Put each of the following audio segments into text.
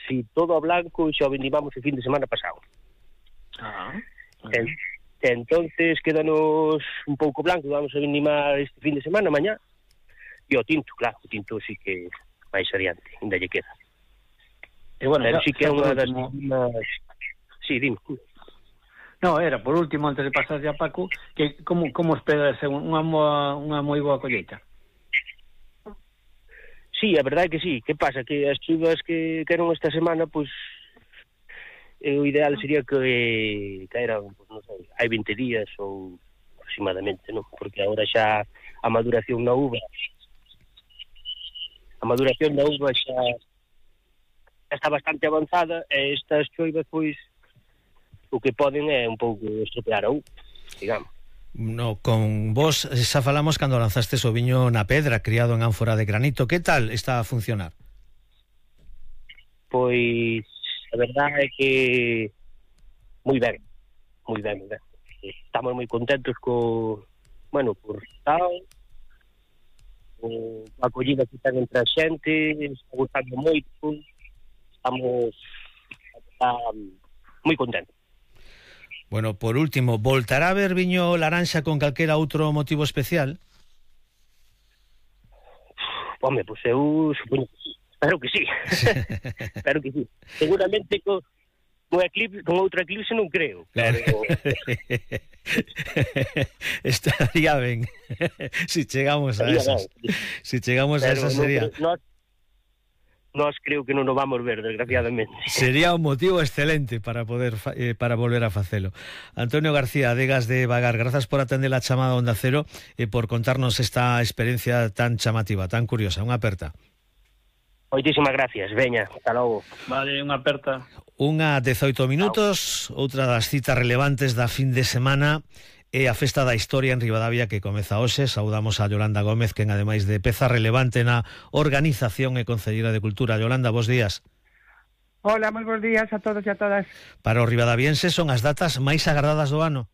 si todo a blanco xa o vendimamos o fin de semana pasado. Entonces quédanos un pouco blanco, vamos a vendimar este fin de semana, mañá. E o tinto, claro, o tinto sí que máis adiante, ainda lle queda. E bueno, pero sí que é unha das últimas... Sí, dime. No, era, por último, antes de pasar a Paco, que como esperas unha moi boa colleita? Sí, a verdade é que sí. Que pasa? Que as chuvas que eran esta semana, pois, o ideal sería que eran, pues, non sei, hai 20 días ou aproximadamente, non? Porque agora xa a maduración da uva xa está bastante avanzada e estas choivas, pois, o que poden é un pouco estropear a uva, digamos. No, con vos xa falamos cando lanzastes o viño na pedra, criado en ánfora de granito. Que tal está a funcionar? Pois a verdade é que moi ben. Estamos moi contentos por tal, a acollida que están entre a xente, está gustando moito, estamos moi contentos. Bueno, por último, voltará a haber viño laranxa con calquera outro motivo especial? Home, pois eu supoño que sí. Espero que sí. Espero que sí. Seguramente con outro eclipse non creo. Pero... Estaría ben. Si chegamos a esas. Si chegamos a esas sería... Nós creo que non o vamos ver, desgraciadamente. Sería un motivo excelente para volver a facelo. Antonio García, Adegas de Vagar, grazas por atender a chamada Onda Cero e por contarnos esta experiencia tan chamativa, tan curiosa. Unha aperta. Moitísimas gracias, veña, hasta logo. Vale, unha aperta. Unha 18 minutos, outra das citas relevantes da fin de semana é a Festa da Historia en Ribadavia que comeza hoxe. Saudamos a Yolanda Gómez, que ademais de peza relevante na organización e concelleira de Cultura. Yolanda, bos días. Hola, moi bons días a todos e a todas. Para os ribadavienses son as datas máis agardadas do ano?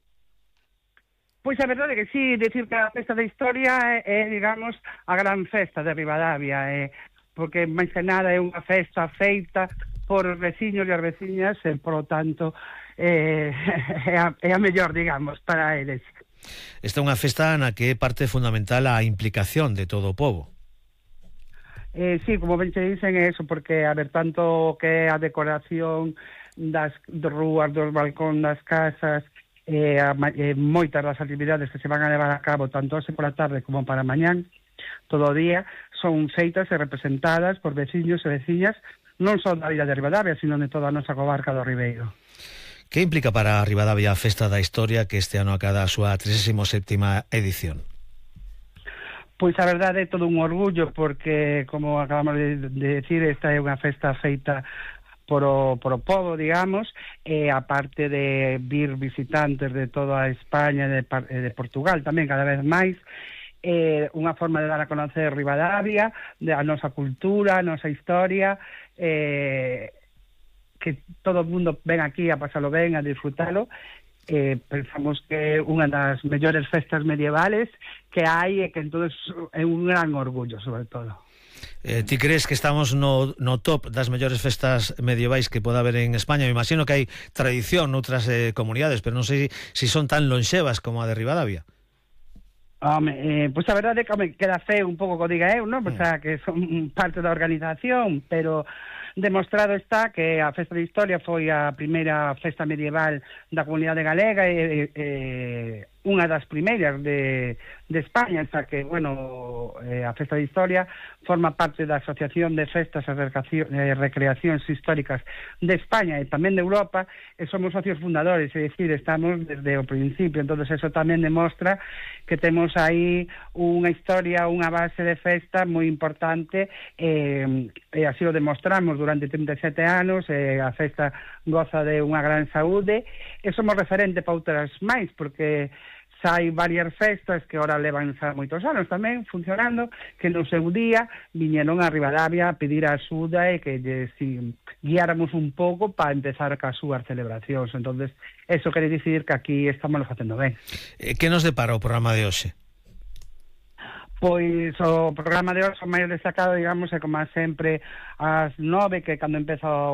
Pois a verdade é que sí, decir que a Festa da Historia é, digamos, a gran festa de Ribadavia, porque máis que nada é unha festa feita por os veciños e as veciñas, e, por lo tanto, é a mellor, digamos, para eles. Esta é unha festa na que é parte fundamental a implicación de todo o pobo. Sí, como ben che dicen, é eso, porque a ver, tanto que a decoración das rúas, dos balcón das casas, moitas das actividades que se van a levar a cabo tanto hoxe pola tarde como para mañán, todo o día, son feitas e representadas por veciños e veciñas non só da vila de Ribadavia, sino de toda a nosa comarca do Ribeiro. Que implica para Ribadavia a Festa da Historia, que este ano acada a súa 37ª edición? Pois a verdade é todo un orgullo, porque, como acabamos de decir, esta é unha festa feita por o pobo, digamos, e aparte de vir visitantes de toda España e de Portugal tamén cada vez máis, unha forma de dar a conocer Ribadavia, a nosa cultura, a nosa historia, que todo o mundo ven aquí a pasalo ben, a disfrutalo. Pensamos que é unha das mellores festas medievales que hai e que entonces é un gran orgullo, sobre todo. Ti crees que estamos no top das mellores festas medievais que pode haber en España? Me imagino que hai tradición noutras comunidades, pero non sei se son tan lonxevas como a de Ribadavia. Pois a verdade é que queda feo un pouco que diga eu, non? O sea, que son parte da organización, pero demostrado está que a Festa de Historia foi a primeira festa medieval da comunidade galega e unha das primeiras de España, xa que, bueno, a Festa de Historia forma parte da Asociación de Festas e Recreacións Históricas de España e tamén de Europa, e somos socios fundadores, é dicir, estamos desde o principio, entonces eso tamén demostra que temos aí unha historia, unha base de festa moi importante, e así o demostramos durante 37 anos, a festa goza de unha gran saúde, e somos referente para outras máis, porque xa hai varias festas que ahora levan xa moitos anos tamén funcionando, que no seu día viñeron a Ribadavia a pedir a axuda e que guiáramos un pouco para empezar ca súas celebracións. Entonces, eso quere dicir que aquí estamos facendo ben. Que nos depara o programa de hoxe? Pois o programa de hoxe máis destacado, digamos, é como sempre ás 9, que cando empeza o